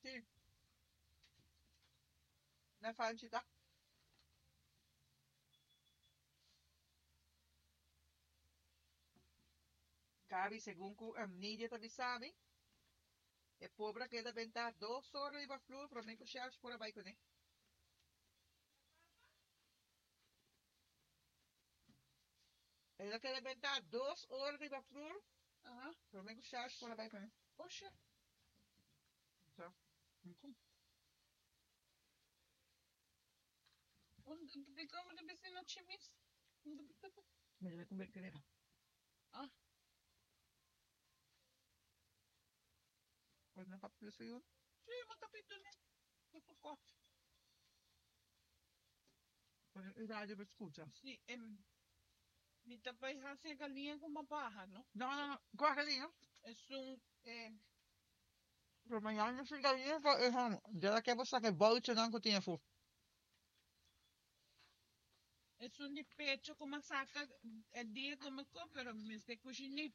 Sí. Na fanchi ta. Gaby, segun ku Nidia ta bisa mi, e pobre a keda bentá dos ora riba flur promé ku Shelsh por a bai kuné. El a keda bentá dos ora riba flur promé ku Shelsh por a bai kuné. Oshe. So, Dikon bo ta bisa no chimis? Mi ta bai kumpra krema. Ah. Pues na kapitulo 1. Sí, ma kapitulo ni poko. Pone e radio pa skucha. Sí, em, mi ta bai hasi e galiña ku mi a baha, no? No, no, no. Kua galiña? Esun, eh. Pero mañana no sin galiña pa e hòmber. Djara ke bo saka e bouchonan ku tin afó. Esun di pecho ku mi a saka e dia ku mi ko, pero mi mester kushiné.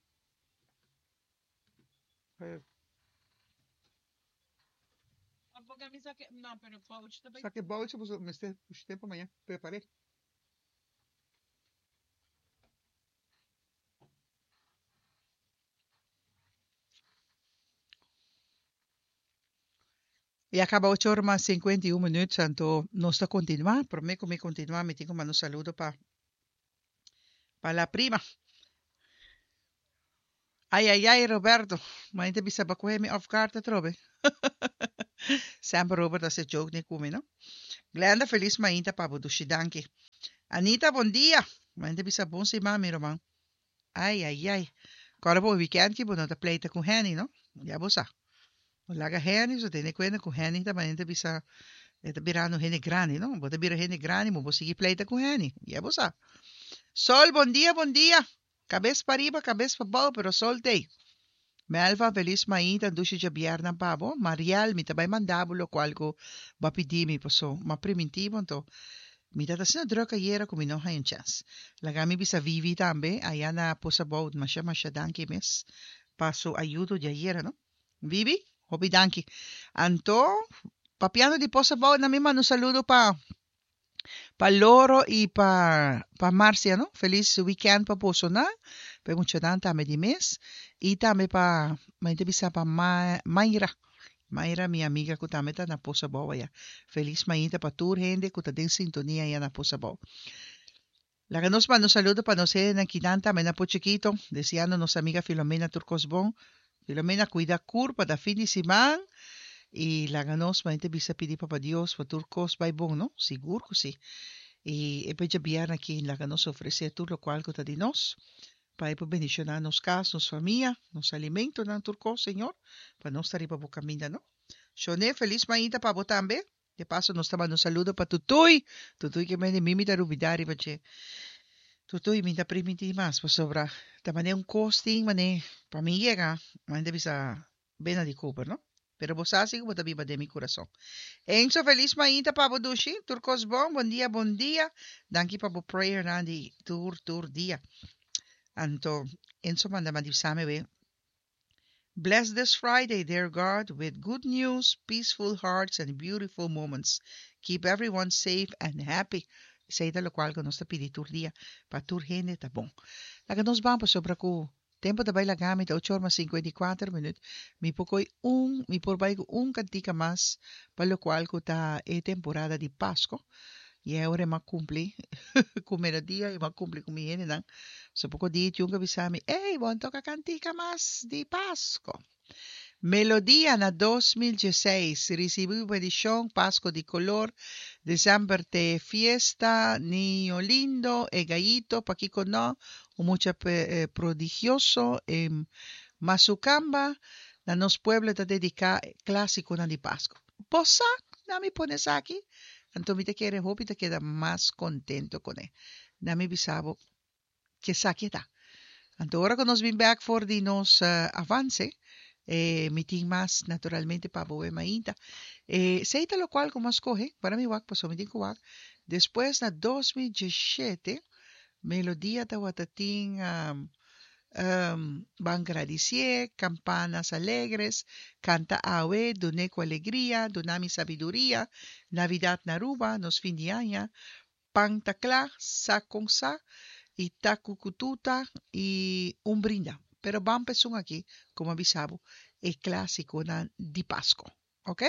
Saki bouchi pasobra mester pushi tempu maña prepar'é. Ya kaba ocho ora mas 51 minuut, anto nos ta kontinuá. Promé ku mi kontinuá mi tin ku manda un saludo pa pa la prima. Ay ay ay Roberto, mañana ta bisa bo coge mi off guard atrobe. Semper Robert ta haci joke ni cu mi no. Glenda feliz mainta pa bo dushi danki. Anita bon dia, mañana ta bisa bon siman mi ruman. Ay ay ay, cora bo weekend ki bo no ta pleita cu Henny no, ya bo sa. Bo laga Henny so tene cuenta cu Henny ta mañana ta bisa e ta birando hende grandi no, bo ta bira hende grandi bo por sigui pleita cu Henny, ya bo sa. Sol bon dia bon dia. Kabes pariba, kabes pabou, pero sol t'ei. Melva, Felis mainta, dushi djabièrnè pa bo. Mariel, Mi ta bai manda bo lokual ku bo a pidi mi, paso m'a primintí bo, anto mi ta ta asina drùk ayera ku mi no haña un chèns. Laga mi bisa Vivi tambe, aya na Posa Bou, masha masha danki mes pa su ayudo di ayera, no. Vivi, hopi danki. Anto, papiando di Posa Bou, na mi manda un saludo pa. Pa Loro y pa pa Marcia no feliz weekend pa boso nan pa e muchanan tambe di mes y tambe pa mi ta bisa pa Mayra Mayra mi amiga cu tambe ta na Pozo Abou aya feliz mainta pa tur hende cu ta den sintonia aya na Pozo Abou. Laga nos manda un saludo pa nos hendenan kinan tambe na Pochiquito, deseando nos amiga Filomena tur cos bon. Filomena cuida curpa ta fin di siman y laga nos manera ta bisa pidi Papa Dios pa tur cos bay bon no, sigur cu si. Y e pecha bierna aki laga nos ofrece tur locual cu ta di nos pa e por bendiciona nos cas, nos famia, nos alimentonan tur cos Señor pa nos ta riba bo caminda no. Shone feliz mainta pa bo tambe. De paso nos ta manda un saludo pa Tutuy. Tutuy ke mende mi mi ta rubida riba dje. Tutuy mi ta primintí mas pasobra ta mane un kos tin mane pa mi yega mane ta bisa bena di Cooper no. Pero bo sa si ku bo ta biba den mi kurason. Enzo felis mainta pa bo dushi. Tur kos bon. Bon dia bon dia. Danki pa bo prayernan di tur tur dia. Anto Enzo manda mandi bisa mi we. Bless this Friday, dear God, with good news, peaceful hearts and beautiful moments. Keep everyone safe and happy. Esei ta lokual ku nos ta pidi tur dia, pa tur hende ta bon. Laga nos ban pasobra ku tempu ta bai laga mi ta ocho or mas 54 minüt. Mi por koi un, mi por bai ku un kantika mas pa lokual ku ta e temporada di Pasko. I e ora e m'a kumpli ku melodia i m'a kumpli ku mi hendenan. So poko dia Jun a bisa mi, Ey, bo a toka kantika mas di Pasko. Melodia na 2016, Risibi bo bendishon, Pasko di kolor, Desember t'e fiesta, Niño lindo, E gayito, Pakiko no, Un mucha prodigioso, E masukamba, Na nos pueblo ta dediká klasikonan di Pasko. Bo sa na mi pone esaki? Anto mi ta kere hopi ta keda mas kontento kuné. Na mi bisa bo ke esaki e ta. Anto ora ku nos bin bèk for di nos avanse, e mi tin mas naturalmente pa bo web mainta. E esei ta lokual ku mi a skohe, para mi wak pasobra mi tin ku wak. Despues na 2017 Melodia tabata tin. Ban gradicié, Campanas Alegres, Canta Awe, Dun'é cu Alegria, Duna Mi Sabiduria, Navidad na Aruba, Nos Fin di Aña, Pan ta Cla, Sa Con Sa, y Ta Cucututa y Un Brinda. Pero ban pa esun aki, como a bisa bo, e clasiconan di Pasco. Ok?